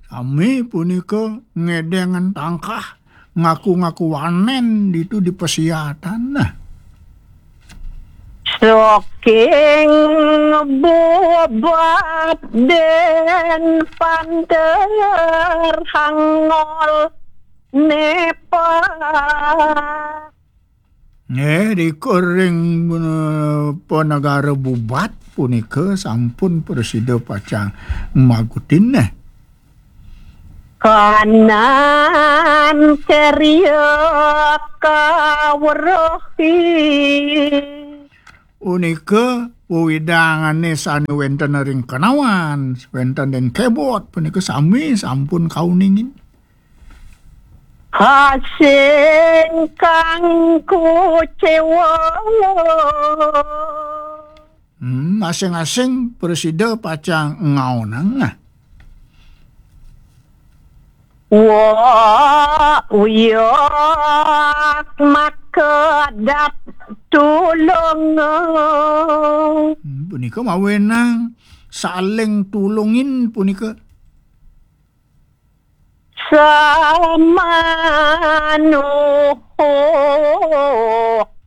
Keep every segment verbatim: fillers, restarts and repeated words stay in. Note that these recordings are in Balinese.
Sami punika ngedengan tangkah, ngaku-ngaku wanen ditu di pasiatan. Nah. Saking bubat den panter hangol nepa. Nggih, di kuring, eh, panegara bubat punika sampun prasida pacang magutin, nah. Kanan ceria kaweruh. Punika wewidangane sane wenten ring kanawan, wenten den kebot, punika sami sampun kauningin. Hasing kang kucewa. Hmm, asing-asing prasida pacang ngaonang. Wa uyak makedap tulung. Hmm, punika mawenang saling tulungin punika. Samanuh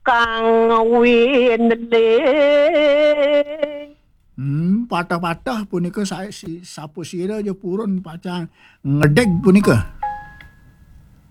kang winling. Hmm, patah-patah punika sa-, si-, sapa sira ja purun pacang ngedeg punika.